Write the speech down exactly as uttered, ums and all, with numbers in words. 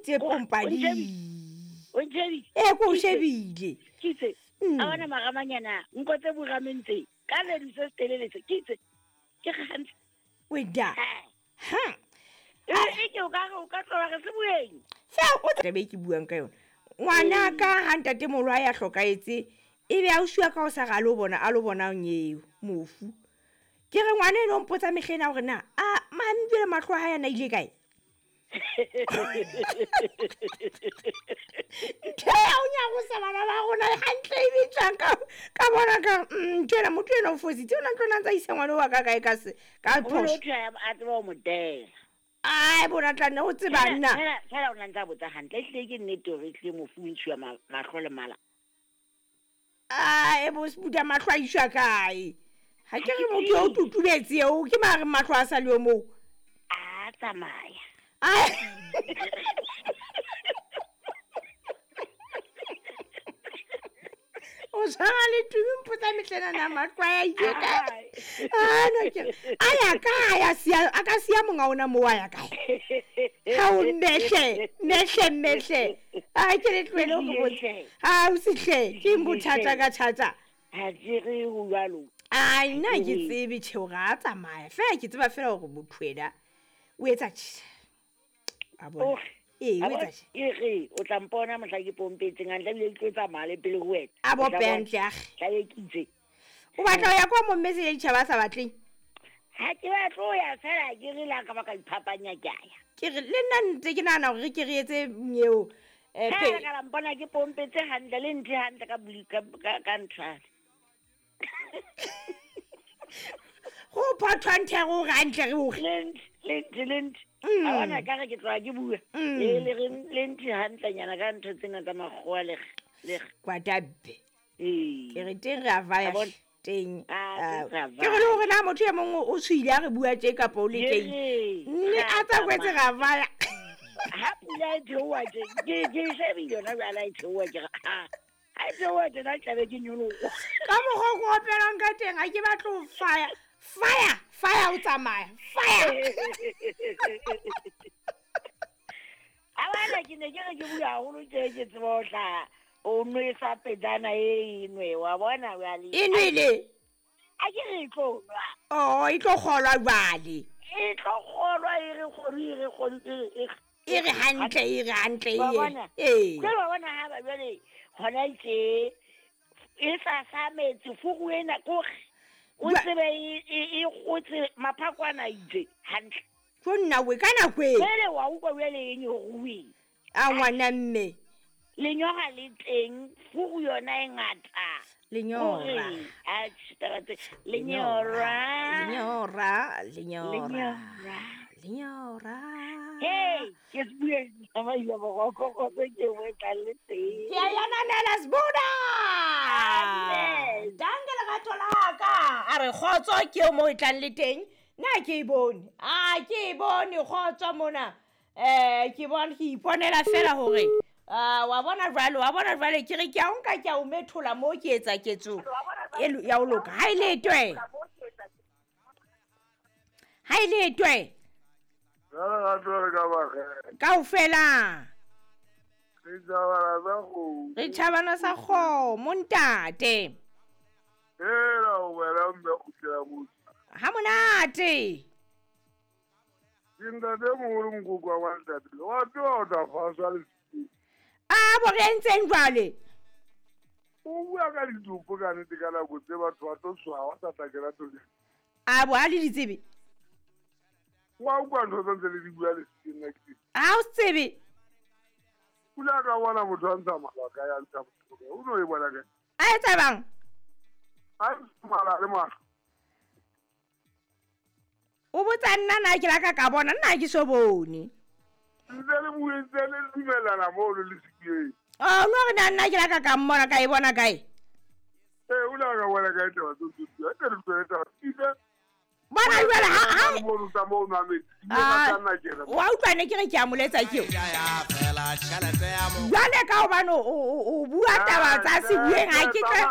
Itse pompadi. O ntshebile. E ko shebile. Ke itse. A bona maramanyana nko tse burameng tse. Ka le di se telele tse. Ke itse. Ke gantsi. Weda. Ha. E ke o ka re o ka tloha re se bueng. Fa o tlabe ke buang ka yona. Ngwana ka ha ntate moholo a ya hlokaetse e be a usiwa ka o sa ga lo bona a lo bona eo mofu. Ke re ngwana eno mpotsa mehlena hore na a mami jwale mahlo a hae a na ile kae? Ke o nya go sa bana ba rona hantle e bitsang ka ka bona ka ntwena motho ena o fositse o na ntlo ntsa isa ngwana wa ka kae ka se ka phoso. O tla a tseba o modela. Ai bona tla nne o tseba nna. Fela fela o na ntsa botsa hantle ehlile ke nnete hore ehlile mofu o ntshuwa mahlo le mala. Ai bo sebuta mahlo a iswa kae? Ha ke re motho o tutubetse eo ke mare mahlo a sa le o moo. A tsamaya. Ai o tshwana le tumi mpotsa mehlena na mahlo a ile kae? Ah no ke a ya kae a siya a ka siya monga ona moo a ya kae? Ha o mmehle mmehle mmehle a ke le tlohele ho botsa. Ha o sihle ke bothata ka thata. Ha ke re ho jwalo. Ai nna ke tsebe tjhe hore a tsamaya fela ke tseba fela hore motho ena o etsa tjhe. A bona. Ee o etsa tjhe. E re o tla mpona mohla ke pompetseng hantle ebile ke tlo tsamaya le pele ho wena. A bope hantle akge. Tla be ke itse. O batla ho ya kwa mo mmetse ya ditjhaba a sa batleng? Ha ke batle ho ya fela ke re la ka ba ka iphapanya ke a ya. Ke re le nna ntse ke nahana hore ke re etse eo eh pe. Ka la mpona ke pompetse hantle le nthe hantle ka ka ka nthwane. Go phathwa nthe go hantle re o lent lent lent a bona ka re ke tloha ke bua le le re le nthe hantlenyana ka ntho tsena tsa makgowa le le kwatabe. Ee ke re teng re a vaya teng. Ke re le hore na motho e mong o tshwile a re bua tje kapa o le teng nne a tsa kwetse ra vaya. Ha pula e theoha tje ke ke shebile yona jwale e theoha ke re ha ha e theoha tjena tlabe ke nyoloha. Ka mokgwa o opelang ka teng ha ke batle ho fire fire fire o tsamaya fire. A bona ke ne ke re ke bua haholo tje ke tseba ho hlaha o nwesa pejana e nwe wa bona jwale. E nwele? A ke re e tlo nwa. Oh e tlo kgolwa jwale. E tlo kgolwa e re kgolwe e re kgolwe e re e re hantle e re hantle e. Ee. Jwale wa bona ha ba jwale hona tje e sa sa metsi fugu ena kore o tsebe e kgotse maphakwana itse hantle. Tjo nna we ka nako e. Jwale wa utlwa jwale e nyoruwe. A ngwana mme. Lenyora le teng fugu yona e ngata. Lenyora. A taba tse lenyora. Lenyora, lenyora. Lenyora. Hey, ke se bue mama ya boroko go ke we tla le teng. Ke ya nanela sbuda. Amen. Danke lerato la ka. A re kgotso ke o mo e tlang le teng. Nna ke e bone. A ke e bone kgotso mona. Eh ke bona ke iponela fela hore ah wa bona jwale wa bona jwale ke re ke a nka ke a o methola mo ke etsa ketso e ya o loka. Ha ile twe. Ha ile twe. Kaofela. Re tjhabana sa kgomo. Re tjhabana sa kgomo ntate. Hela wena mme kgutlela motse. Ha monate. Ke ntate moholo mokoko wa ntate. Wa tseba o tla faswa le. A bo re entseng jwale? O bua ka ditopo ka nnete ka nako tse batho ba tlo tshwawa ba sa tla kena toleng. A bo ha le ditsebe? Wa utlwa ntho tse ntse le di bua le nna ke. Ha o tsebe? Pula ka bona motho a ntsha mala ka ya ntsha motho. O no e bona kae? A etsa bang? A ntsha mala le mahlo. O botsa nna na ke la ka ka bona nna ke so bone. Ntse le buentse le dumelana mo le sekeng. Oh no re nna nna ke la ka ka mmona ka e bona kae? Eh o la ka bona kae taba tse tse tse tse tse. Bona jwale ha ha mo ruta mo nwa metsi ka nna ke re. Wa utlwa ne ke re ke a moletsa ke. Jwale ka hobane o o bua taba tsa se bueng ha ke tla.